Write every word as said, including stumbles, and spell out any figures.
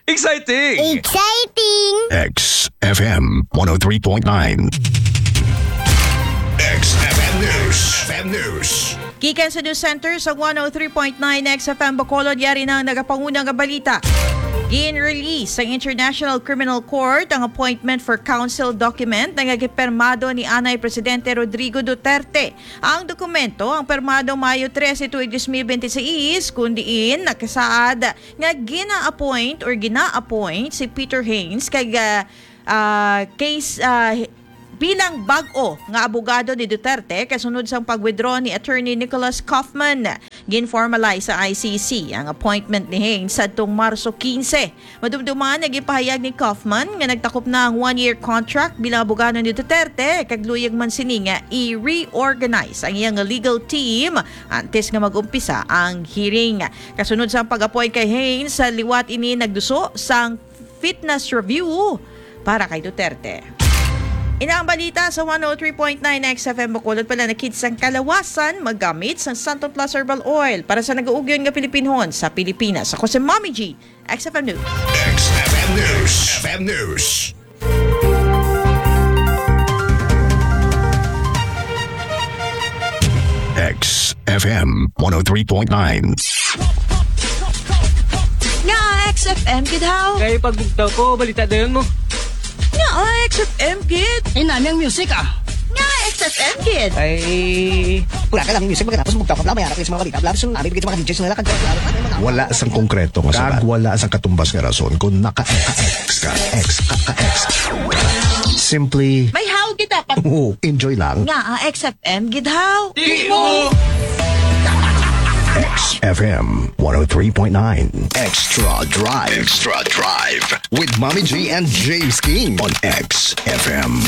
Exciting! Exciting! X F M one oh three point nine. X F M News. F M News. Gikan sa News Center sa one oh three point nine X F M Bacolod, yari na ang nagapanguna nga balita. Gin-release sa International Criminal Court ang appointment for counsel document nga gipermado ni anay Presidente Rodrigo Duterte. Ang dokumento ang pirmado Mayo trese tuig dos mil bente seis, kun diin nakasaad nga gina-appoint or gina-appoint si Peter Haynes kag, ah, ah, case, ah, bilang bag-o nga abogado ni Duterte kasunod sang pag-withdraw ni Attorney Nicholas Kaufman. Gin-formalize sa I C C ang appointment ni Haynes sadtong Marso kinse. Madumduman nga ginpahayag ni Kaufman nga nagtakop na ang one-year contract bilang abogado ni Duterte, kag luyag man sini nga i-reorganize ang iyang legal team antes nga mag-umpisa ang hearing. Kasunod sa pag-appoint kay Haynes, sa liwat ini nagduso sang fitness review para kay Duterte. Ina ang balita sa one oh three point nine X F M Bacolod. Pala nakit sang kalawasan, magamit sang Santon Plus Herbal Oil para sa nag-uugyon nga Pilipinhon sa Pilipinas. Ako si Mommy G, X F M News. X F M News. X F M News. X F M one oh three point nine. Nga X F M gid, haw? Kay pagbugtaw ko, balita dayon mo. Nga X F M gid. Ay, nami ang music, ah. Nga X F M gid. Ay, wala ka lang music, magkatapos bugtaw ka, bla, may harap sa mga balita, bla, so, nami bigay sa mga D Js na nila, kag, bla, bla, bla, bla, mga wala sang konkreto nga sabat. Wala sang katumbas nga rason kung naka-X ka, X ka, ka-X. Simply, may haw gid dapat. Oo, enjoy lang. Nga, ah, X F M gid haw. Di mo. X F M one oh three point nine. Extra Drive. Extra Drive with Mommy G and James King on X F M.